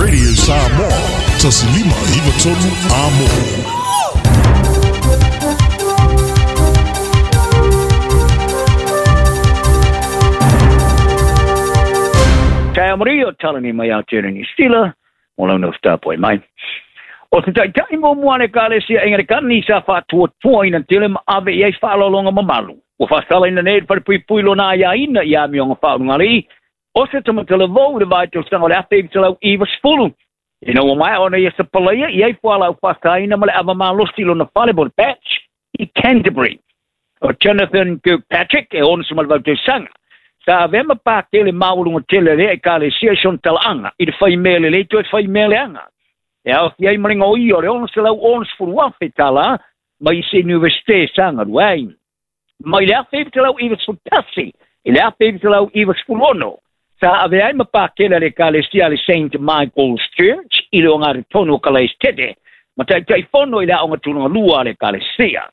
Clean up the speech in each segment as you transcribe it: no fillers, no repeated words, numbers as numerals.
Radio Samoa, 1593 Amo. Tae Maria, talani mai Aotearoa Niu Sila, mo lau nofo mai. O te taitai muamua a le Ekalesia Angalikani sa faatuatuaina tele ma ave i ai faaaloaloga mamalu. Ua faasalaina nei le falepuipui lona aiaina i amioga faaulugalii o se tamatalavou i le vaitausaga o le 1990. Ina ua maea ona ia sapalaia i ai fualaau faasaina ma le ava malosi lona fale po le batch i Canterbury. O Jonathan Kirkpatrick e 68 tausaga. Sa avea ma pakele maualuga tele a lea Ekalesia i sona talaaga i le fai mea lelei toe fai mea leaga. E aofia ai ma le gaoia o le $660,000 tala mai i se Iunivesite sa galue ai. Mai le 1991 i le 1996, sa avea ai ma pakele a le Ekalesia a le St. Michael's Church i le ogatotonu o Kalaesetete ma taitaifono i le aoga tulaga lua a le Ekalesia.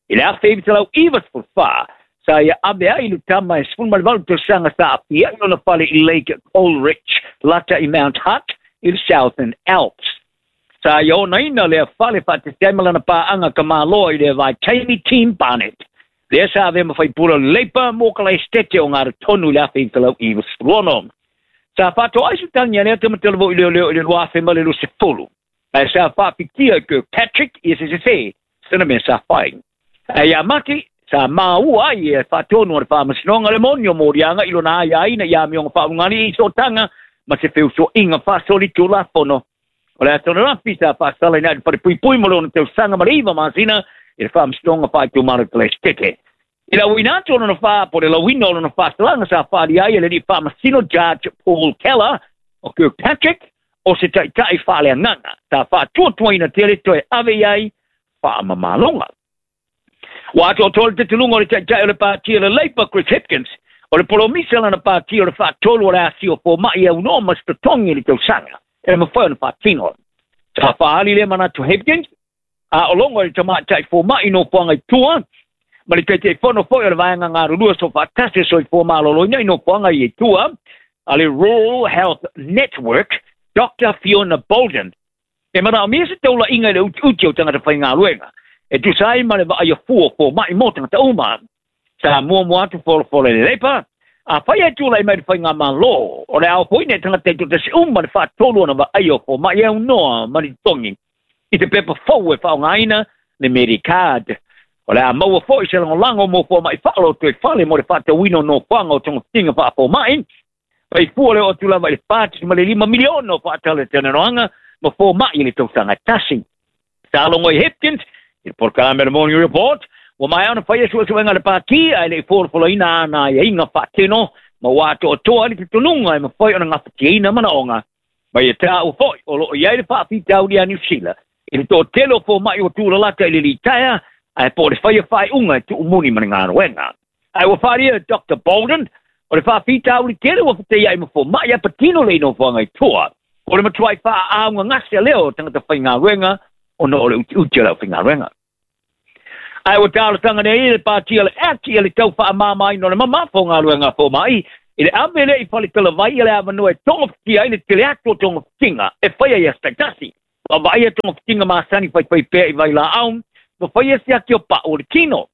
I le 1994, sa ia ave ai le tama e 18 tausaga sa aafia i lona fale i Lake Coleridge, lata i Mount Hutt i le Southern Alps. Sa ia onaina lea fale faatasi ai ma lana paaga kamaloa i lea vaitaimi Tim Barnett. Lea sa avea ma faipule o le Labour mo Kalaesetete o Gatotonu i le 1996. Sa faatoai se tagi a lea tama talavou i leoleo i le 2020. Ae sa faapikia i Kirkpatrick i se sese sena mea sa fai. Ae ia Mati, sa maua ai e faatonu a le faamasinoga le moni o moliaga i lona aiaina i amioga faaulugalii i sootaga ma se feusoiga faasolitulafono. O le aso ananafi sa faasalaina ai le falepuipui mo lona tausaga ma le 9 masina i le faamasinoga faaitumalo i Kalaesetete. I le auina atu o lona fā, po o le lauina o lona faasalaga sa faaalia ai e le alii faamasino Judge Paul Keller o Kirkpatrick o se taitai faaleagaga sa faatuatuaina tele toe ave i ai faamamaloga. Ua atoatoa le talitonuga o le taitai o le pati o le Labour Chris Hipkins o le polomisa lana pati o le faatolu o le asia o fomai e aunoa ma se totogi i le tausaga e mafai ona faatino. Sa faaali lea manatu Hipkins a o logo i le tamaitai fomai nofoaga i tua ma le taitaifono foi o le vaega galulue soofaatasi o soifua maloloina i nofoaga i tua a le Rural Health Network Dr. Fiona Bolden. E manaomia se taulaiga i le utiuti o tagata faigaluega e tusa ai ma le vaaia fua o fomai mo tagata uma. Sa muamua atu folafola i le Labour, afai ae tulai mai le faigamalo, o le a ofoina i tagata taitoatasi uma le faatolu ona vaaia o fomai e aunoa ma le totogi i te pepa fou e faaaogaina le Medicard. O le a maua foi se lagolago mo fomai faalotoifale mo le faatauina o nofoaga o togafitiga faafomai. Fai fua le oo atu lava i le $4.5 miliona o faatalatalanoaga ma fomai i le tausaga e tasi. Sa logo i Hipkins i le polokalame o le Morning Report, ua maea ona faia suesuega a le pati ae le i folafolaina ana aiaiga faatino ma ua atoatoa ai le talitonuga e mafai ona gafatiaina manaoga. Ma ia taua foi o loo i ai le faafitauli a Niu Sila i le toatele o fomai ua tulalata i le litaea ae po o le faia faaiuga e tuumuni ma le galuega. Ae ua faaalia e Dr. Bolden o le faafitauli tele ua fetaiai ma fomai a patino le i nofoaga i tua. O le matuai faaaaogagase lea o tagata faigaluega ona o le utiuti o le aufaigaluega. Ae ua talosaga nei le pati o le Act ia le tau faamamaina o le mamafa o galuega a fomai i le ave lea i fale talavai ia le avanoa e togafitia ai le tele atu o togafitiga e faia i aso taitasi. Vaavaaia togafitiga masani faifai pea i vailaau ma faia siaki o pau o le tino.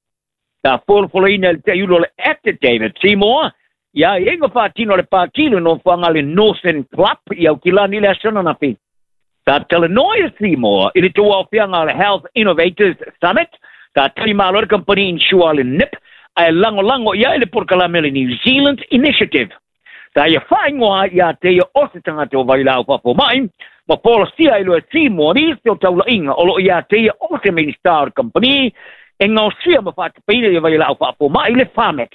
Sa folafolaina e le taiulu o le Act David Seymour ia aiaiga faatino a le pati le nofoaga a le Northern Club i Aukilani i le aso ananafi. Sa talanoa i Seymour i le tauaofiaga o le Health Innovators Summit, sa tali malo le kamupani insure a le NIP ae lagolago i ai le polokalame o le New Zealand Initiative. Sa ia faaigoa ai ia te ia o se tagata o vailaau faafomai ma folasia ai loa e Seymour nisi o taulaiga o loo ia te ia o se Minista o le kamupani e gaosia ma faatapaina ia vailaau faafomai le Pharmac.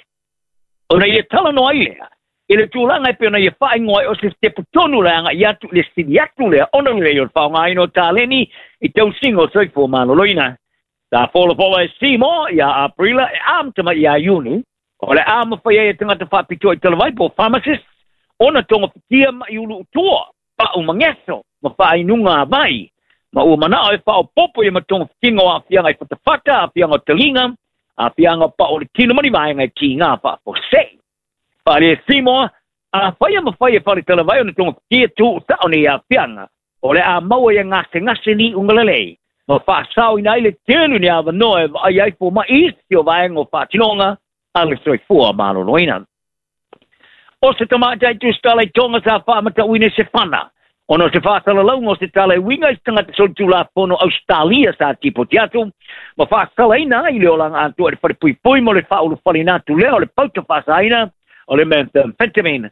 Ona ia talanoa ai lea i le tulaga e pei ona ia faaigoa ai o se sitepu tonu le agai atu i le sili atu lea ona lelei o le faaaogaina o taleni i tausiga o soifua maloloina. Sa folafola e Seymour ia Aperila e amata mai ia Iuni, o le a mafai ai e tagata faapitoa i talavai po o pharmacists ona togafitia mai uluutua, pau mageso ma faainuga a vai, ma ua manao e faaopoopo ia ma togafitiga o aafiaga i fatafata, aafiaga o taliga, aafiaga o pau o le tino ma ni vaega e kiga faafuasei. Faaalia e Seymour, Afai e mafai e Faletalavai ona togafitia tuusao nei aafiaga, o le a maua ia gasegase liuga lelei, ma faasaoina ai le tele o ni avanoa e vaaia ai fomai i isi o vaega o faatinoga a le soifua maloloina. O se tamaitai tusitala i Tonga sa faamatauina i se fana, ona o se faasalalauga o se tala e uiga i se tagata solitulafono Ausetalia sa tipoti atu, ma faasalaina ai le olaga atoa i le falepuipui mo le faaulufaleina atu lea o le pauta faasaina o le methamphetamine.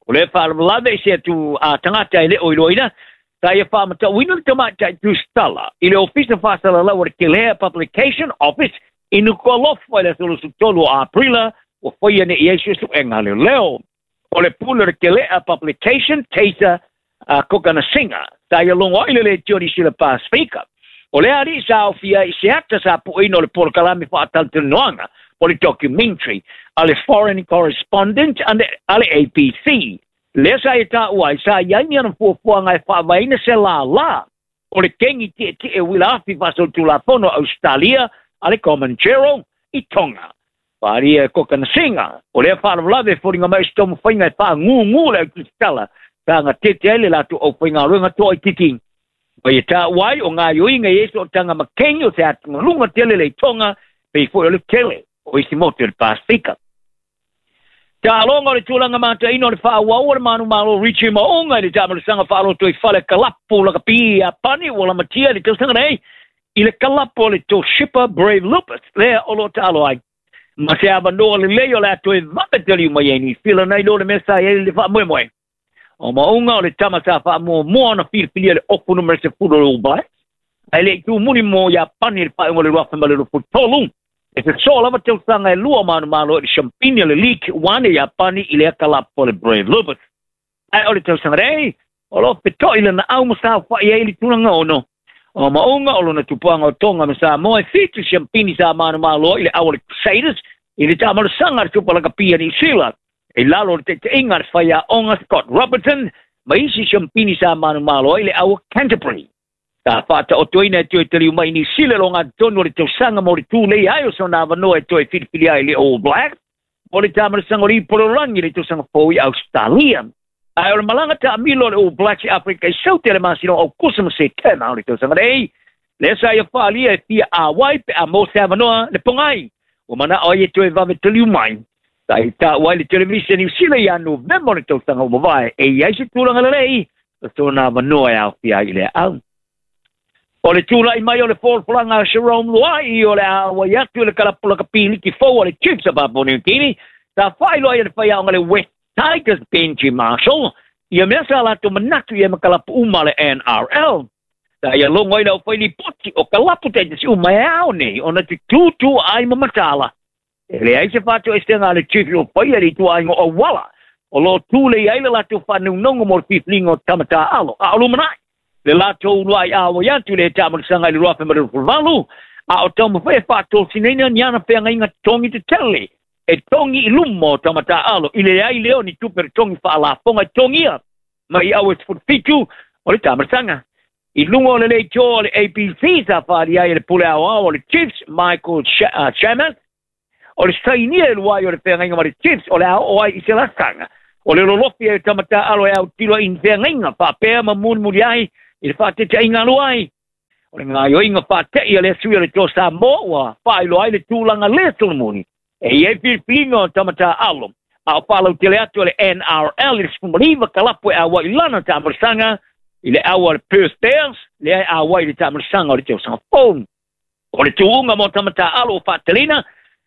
O lea faalavelave i se atu a tagata e le o iloaina, sa ia faamatauina le tamaitai tusitala i le Ofisa Faasalalau o le Kelea Publication Office i Nuku'alofa i le aso 23 o Aperila ua faia nei i ai suesuega a leoleo. O le pule o le Kelea Publication, Taser Kokanasiga, sa ia logo ai le leitio Niu Sila Pasifika. O lea alii sa aofia ai i se ata sa pueina o le polokalame faatalatalanoaga o le documentary a le Foreign Correspondent a le ABC. Lea sa ia taua ai, sa i ai ni ana fuafuaga e faavaeina se lālā o le kengi tietie uila afi faasolitulafono a Ausetalia a le Comanchero i Tonga. Faaalia e Kokanasiga, o lea faalavelave e foliga mai o se taumafaiga e faagūgū le autusitala sa gatete ai le latou aufaigaluega toaitiiti. Ma ia taua ai o gaioiga i ai sootaga ma kengi o se atugaluga tele le i Tonga, pei foi o le tele o isi motu o le Pasefika. Taaloga o le tulaga mataina o le faaauau o le manumalo Richie Maunga i le taamalosaga faalotoifale kalapu lakapi i Iapani ua lamatia i le tausaga nei i le kalapu o le Toshiba Brave Lupus lea o lo o taalo ai ma se avanoa lelei o le a toe vave taliu mai ai Niu Sila nai lo le mea sa i ai le faamoemoe. O Maunga o le tama sa faamuamua ona filifilia le ofu numera 10 o le All Blacks, ae le i tumuli mo Iapani i le faaiuga o le 2023. E sosoo lava tausaga e lua o manumalo i le siampini o le League One e Iapani i lea kalapu o le Brave Lupus. Ae o le tausaga nei, o lo o feto'i lana au ma saofai ai i le tulaga ono. O Maunga o lona tupuaga o Tonga ma Samoa e 7 siampini sa manumalo i le au o le Crusaders i le taamalosaga a le Supa Lakapi a Niu Sila. I lalo o le taitaiga a le faiaoga Scott Robertson ma isi siampini sa manumalo ai le au o Canterbury. Sa faataotoina e toe taliu mai i Niu Sila le ogatotonu o le tausaga mo le tulei ai o sona avanoa e toe filifili ai le All Blacks mo le taamalosaga o le Ipu o le Lalolagi i le tausaga fou i Ausetalia. Ae o le malaga taamilo a le All Blacks i Aferika i Saute i le masina o Aukusa ma Setema o le tausaga nei, lea sa ia faaalia e fia auai pe a maua se avanoa le pogai ua manao ai e toe vave taliu mai. Sa i taua ai le televise a Niu Sila ia Novema o le tausaga ua mavae e i ai se tulaga lelei o sona avanoa e aofia ai i lea au. O le tulai mai o le folafolaga a Jerome Luai o le a auai atu i le kalapu lakapi liki fou a le Chiefs a Papua New Guinea, sa faailoa ai e le faiaoga le West Tigers Benji Marshall ia mea sa latou manatu i ai ma kalapu uma a le NRL. Sa ia logo ai le aufailipoti o kalapu taitasi uma e ao nei ona tutūtū ai ma mataala. E leai se faatoesega a le Chiefs o faia i le ituaiga o auala o lo o tulei ai le latou faanaunauga mo le filifiliga o tama taalo. A o lumanai le latou uluai auai atu i le taamalosaga i le 2028, a o taumafai e faatosinaina ni ana feagaiga totogi tetele e togi i luma o tama taalo i le leai lea o ni tupe totogi faalafoga e totogia mai i aue 17 o le taamalosaga. I luga o le leitio o le ABC sa faaalia ai e le pule aoao o le Chiefs Michael Chammas, o le sainia e Luai o le feagaiga ma le Chiefs o le a oo ai i se lakaga o le lolofi ai o tama taalo e autilo ai i ni feagaiga faapea ma mulimuli ai i le faateteiga a Luai. O le gaoioiga faatei a lea sui o le Toa Samoa ua faailoa ai le tulaga le solomuli e i ai filifiliga o tama taalo a o faalautele atu a le NRL i le 19 kalapu e auai i lana taamalosaga i le au a le Perth Bears lea e auai i le taamalosaga o le tausaga fou. O le tuuga mo tama taalo o faateleina,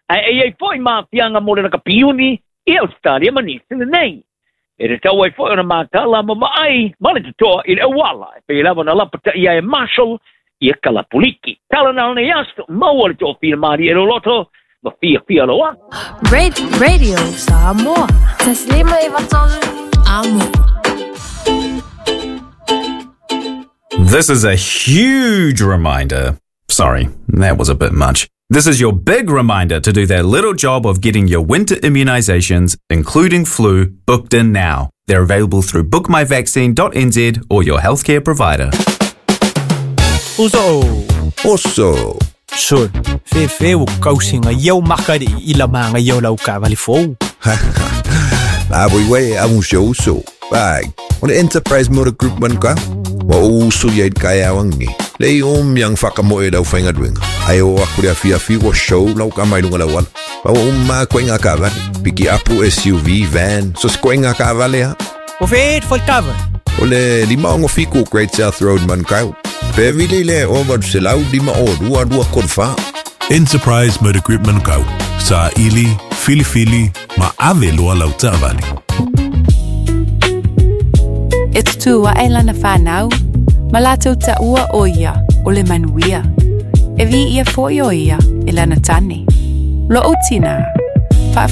ae e i ai foi maafiaga mo le lakapi i Ausetalia ma Niu Sila nei. E tatau ai foi ona matala ma vaai ma le totoa i le auala e pei lava ona lapataia e Marshall ia kalapu liki. Tala na o nei aso, maua le toafia malie e loloto ma fiafia loa. Radio Samoa. Taslima 93 Amo. This is a huge reminder. Sorry, that was a bit much. This is your big reminder to do that little job of getting your winter immunizations, including flu, booked in now. They're available through bookmyvaccine.nz or your healthcare provider. Uso. Oso. Sol. Fefe o kausinga iau makari i la manga iau lau kavali fou. La voi wei a un show so. Pai, o le Enterprise Motor Group man ka. Wa o usu ia i kai awangi. Le i om yang whakamoe lau whainga duenga. Ai o aku le awhi awhi wa show lau ka mai lunga lau wala. Pa wa umma koe ngā kawale. Piki apu SUV, van, so se koe ngā kawale ha. O whēt whai tawa. O le lima ongo fiku Great South Road man kau. Pe vili le o valu se lau lima o lua lua kolu wha. Enterprise Motor Group Manukau. Sa ili, filifili, ma ave loa lau taavale. E tutū ae lana whānau, ma lātou taua o ia o le manuia. E vi ia foi o ia e lana tane. Lo o tina,